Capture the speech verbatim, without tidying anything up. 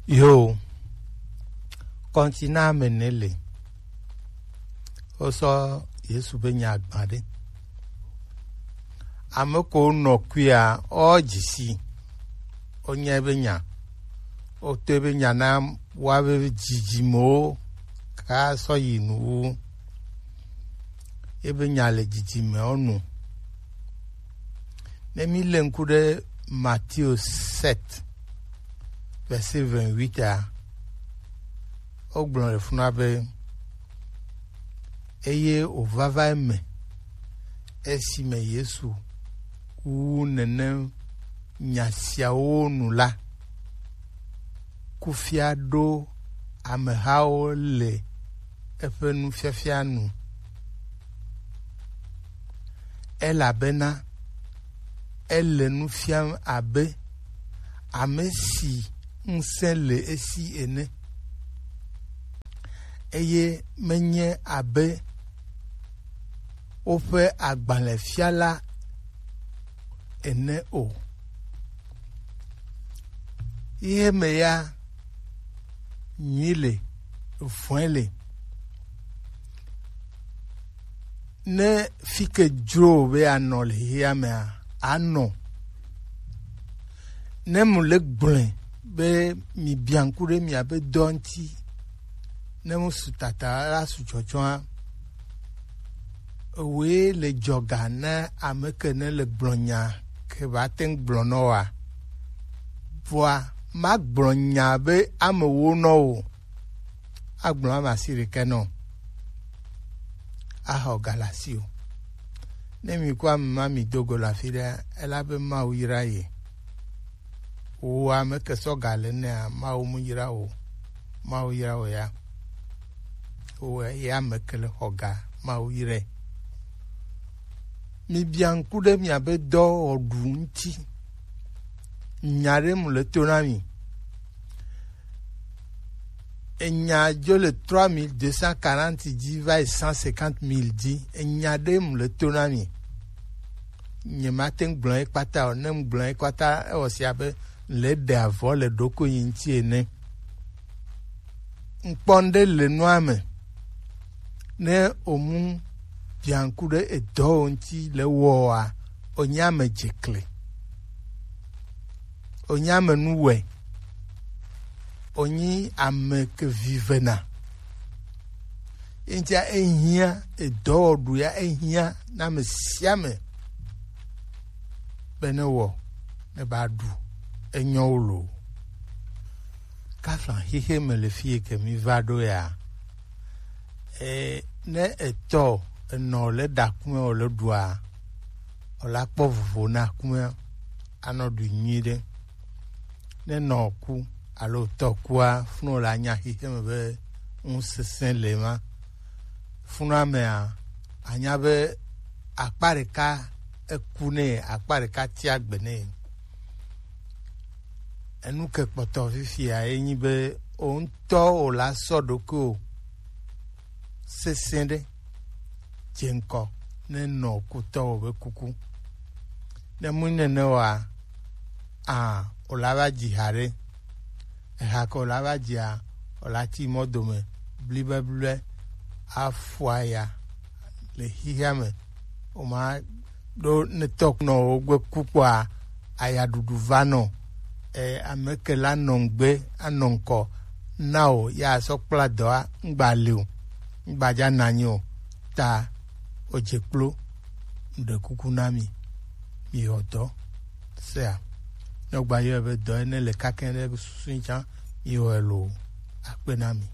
Yo, kɔntina me ne le. Wosɔ Yesu be nya gbã ɖe. Ame ko nɔ kuia, o dzisi. Wonye be nya. Wote be nya na wa be dzidzimewo ka sɔ yi nu wu. Ebe nya le dzidzimewo nu. Ne mi le ŋku ɖe Matthieu sept, verset vingt-huit a, wogblɔ le funa be, eye wòvava eme esime Yesu wu nenem nya siawo nu la, kufia ɖo amehawo le eƒe nufiafia nu, elabena ele nu fiam abe ame si ŋusẽ le esi ene, eye menye abe woƒe agbalẽfiala ene o. Xexeme ya nyui le, vɔ̃e le. Ne fi ke dzro wò be anɔ le xexea mea, anɔ. Ne mu le gblɔe be mi bia ŋku ɖe miabe dɔ ŋuti, ne mu su tata la su tsɔtsɔa, ewoe le dzɔga ne ame ke ne le gblɔ nya ke ba te ŋu gblɔ nɔ wa. Vɔa, magblɔ nya be ame wo nɔ o. Agblɔ ame asi ɖekɛ nɔ. Axɔ ga le asi o. Ne mi kɔ ame ma mi do go le afi ɖe, ela be Mawu yra ye. Wo ame ke sɔ ga le nea, Mawu mu yra o. Mawu yra o ya. Wo ya ame ke le xɔ ga, Mawu irae. Mi bia ŋku ɖe miabe dɔ wɔɖu ŋuti. Nya ɖe mu le to na mi. Enya dzo le trois mille deux cent quarante dzi va yi cent cinquante mille dzi. Enya ɖe mu le to na mi. Nyemate ŋu gblɔ ye kpata o. Ne ŋgblɔ ye kpata, ewɔ si abe le ɖe avɔ le ɖokuinye ŋuti ene. Ŋkpɔ ŋɖe le nua me. Ne omu bianku ɖe edɔwo ŋuti le wɔa, onye ame dzekle. Onye ame nuwɔe. Onye ame ke vivena. Eŋutia ehiã, edɔwɔɖu ya ehiã na ame sia ame be ne wɔ, ne ba ɖu, enyɔ wo lo. Kafla xexe me le fi yi ke mi va ɖo ya, e, ne etɔ enɔ le ɖa kume o le ɖua, o la kpɔ vovo na kume anɔ ɖu nyui ɖe. Ne nɔ ku alo tɔ kua, funu la nya xexe me be ŋusesẽ le ma. Funua mea, anya be akpa ɖeka eku nɛ, akpa ɖeka tia gbe nɛ. Enu ke kpɔtɔ fifia ye nyi be o ŋutɔ o la sɔ ɖokuiwò sesẽ ɖe dze ŋkɔ ne nɔ kutɔwò be kuku. Ne mu nene oa, a, o la va dzi ha ɖe. Eha ke o la va dzia, o la ti mɔ dome blibeblibe afua ya le xixia me. O ma ɖo ne tɔkunɔwo gbe ku kpɔa, ayaɖuɖu va nɔ. E, ame ke la nɔ ŋgbe anɔ ŋkɔ na o ya sɔ kpla dɔa ŋgba le o, ŋgba dza na anyi o. Ta o dze kplo, ŋɖe kuku na mi, mi yɔ dɔ sea. Ne o gba yɔ be dɔ ene le kakɛ ɖe susu tsã, mi yɔ elo akpe na mi.